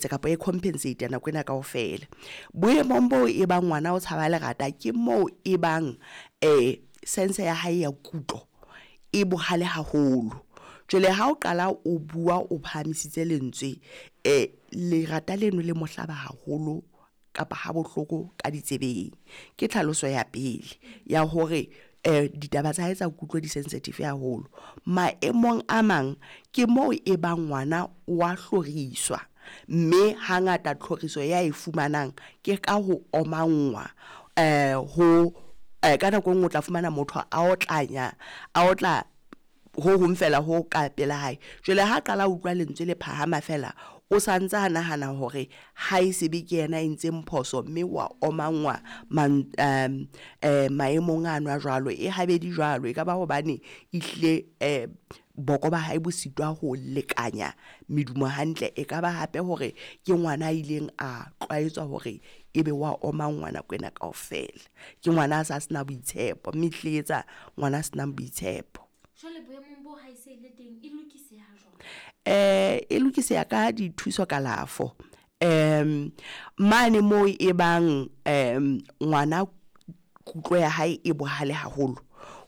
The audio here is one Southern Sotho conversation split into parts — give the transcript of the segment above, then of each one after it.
Ekeletsa kapa e compensate nako ena kaofela. Boemong bo e bang ngwana o tshaba lerata, ke moo e bang sense ya hae ya kutlo e bohale haholo. Jwale ha o qala o bua o phahamisitse lentswe, lerata leno le mo hlaba haholo kapa ha bohloko ka ditsebeng. Ke tlhaloso ya pele ya hore ditaba tsa hae tsa kutlo di sensitive haholo. Maemong a mang ke moo e bang ngwana wa hloriswa, mme hangata tlhoriso ya e fumanang ke ka ho omangwa, ho ka nako e nngwe o tla fumana motho a otlanya, a otla ho hong fela ho ka pela hae. Jwale ha qala utlwa lentswe le phahama fela, o santse a nahana hore ha e sebe ke yena e entseng phoso, mme wa omangwa maemong ano a jwalo. E habedi jwalo, e ka ba hobane ehlile boko ba hae bo sitwa ho lekanya medumo hantle. E ka ba hape hore ke ngwana a ileng a tlwaetswa hore ebe wa omangwa nako ena kaofela. Ke ngwana a sa sena boitshepo, mme ehlile etsa ngwana a senang boitshepo. Jwale boemong bo ha e se le teng e lokiseha jwang? E lokiseha ka dithuso kalafo. Mane moo e bang ngwana kutlo ya hae e bohale haholo,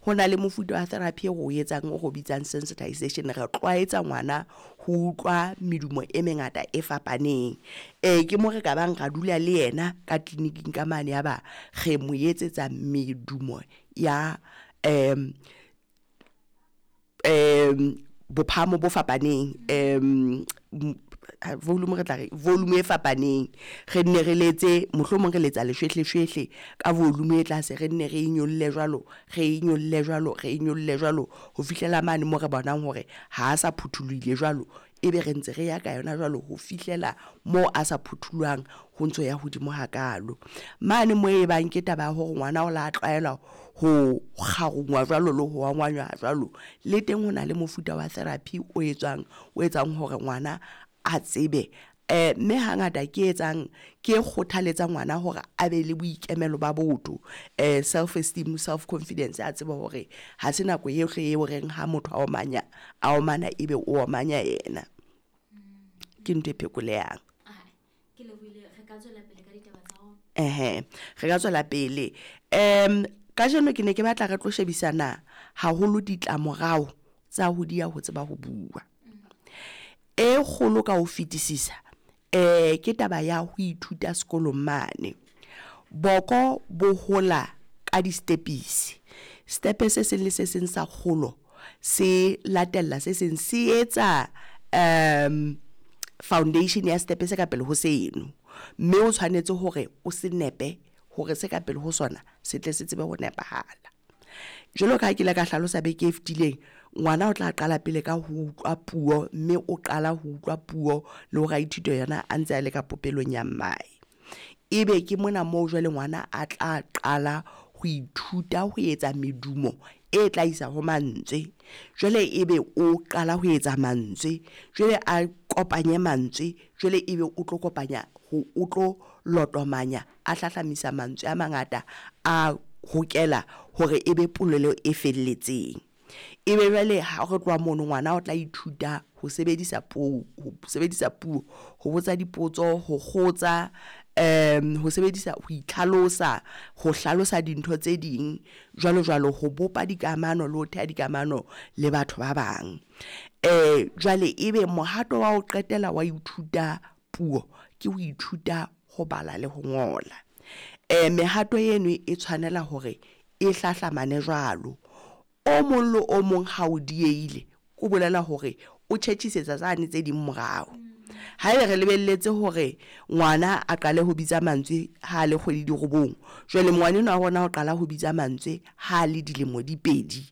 ho na le mofuta wa therapy e re o etsang o re o bitsang sensitization. Re tlwaetsa ngwana ho utlwa medumo e mengata e fapaneng. Ke mo re ka bang ra dula le yena ka clinic-ing ka mane, ya ba re mo etsetsa medumo ya bophahamo bo fapaneng, volume re tla re volume e fapaneng. Re nne re letse, mohlomong re letsa leshwehleshwehle ka volume e tlase, re nne re e nyolle jwalo, re e nyolle jwalo, re e nyolle jwalo ho fihlela mane mo re bonang hore ha sa phuthulohile jwalo, ebe re ntse re ya ka yona jwalo ho fihlela moo a sa phuthulohang ho ntso ya hodimo hakalo. Mane moo e bang ke taba ya hore ngwana o la tlwaela ho kgarungwa jwalo le ho omanywa jwalo, le teng ho na le mofuta wa therapy o etswang, o etsang hore ngwana a tsebe. Mme hangata ke etsang, ke e kgothaletsa ngwana hore a be le boikemelo ba botho, self esteem, self confidence, a tsebe hore ha se nako yohle eo reng ha motho a omanya, a omana ebe o omanya yena. Ke ntho e phekolehang. Ke lebohile, re ka tswela pele ka ditaba tsa rona. Re ka tswela pele. Kajeno ke ne ke batla re tlo shebisana haholo ditlamorao tsa ho diya ho tseba ho bua. E kgolo ka ho fetisisa, ke taba ya ho ithuta sekolong mane. Boko bo hola ka di-stepisi. Stepe se seng le se seng sa kgolo se latella se seng, se etsa foundation ya stepe se ka pele ho seno, mme o tshwanetse hore o se nepe hore se ka pele ho sona se tle se tsebe ho nepahala. Jwalo ka ha ke ile ka hlalosa beke e fetileng, ngwana o tla qala pele ka ho utlwa puo, mme o qala ho utlwa puo le hore a ithute yona a ntse a le ka popelong ya mmae. Ebe ke mona moo jwale ngwana a tla qala ho ithuta ho etsa medumo e tla isa ho mantswe. Jwale ebe o qala ho etsa mantswe, jwale a kopanye mantswe, jwale ebe o tlo kopanya, o tlo lotomanya, a hlahlamisa mantswe a mangata, a hokela hore ebe polelo e felletseng. Ebe jwale ha re tloha mono, ngwana o tla ithuta ho sebedisa puo, ho sebedisa puo, ho botsa dipotso, ho kgotsa, ho sebedisa, ho itlhalosa, ho hlalosa dintho tse ding jwalo jwalo, ho bopa dikamano le ho theha dikamano le batho ba bang. Jwale ebe mohato wa ho qetela wa ithuta puo ke ho ithuta ho bala le ho ngola. Mehato eno e tshwanela hore e hlahlamane jwalo. O mong le o mong ha o diehile, o bolela hore o tjhetjhisetsa tsane tse ding morao. Haeba re lebelletse hore ngwana a qale ho bitsa mantswe ha le kgwedi di robong, jwale ngwana enwa wa rona o qala ho bitsa mantswe ha le dilemo di 2,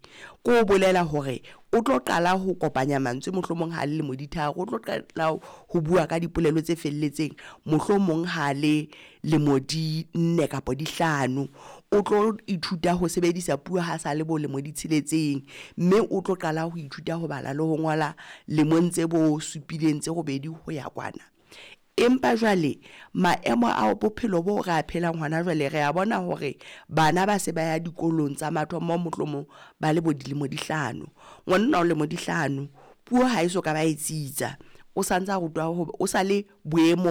ke ho bolela hore o tlo qala ho kopanya mantswe mohlomong ha le lemo di 3, o tlo qala ho bua ka dipolelo tse felletseng mohlomong ha le lemo di 4 kapa di 5, o tlo ithuta ho sebedisa puo ha sa le bo lemo di 6, mme o tlo qala ho ithuta ho bala le ho ngola lemong tse bo supileng tse robedi ho ya kwana. Empa jwale maemo a bophelo bo re a phelang hona jwale, re a bona hore bana ba se ba ya dikolong tsa mathomo mohlomong ba le bo dilemo di 5. Ngwana o lemo di 5, puo ha e so ka ba e tsitsa, o santsa rutwa ho, o sa le boemong.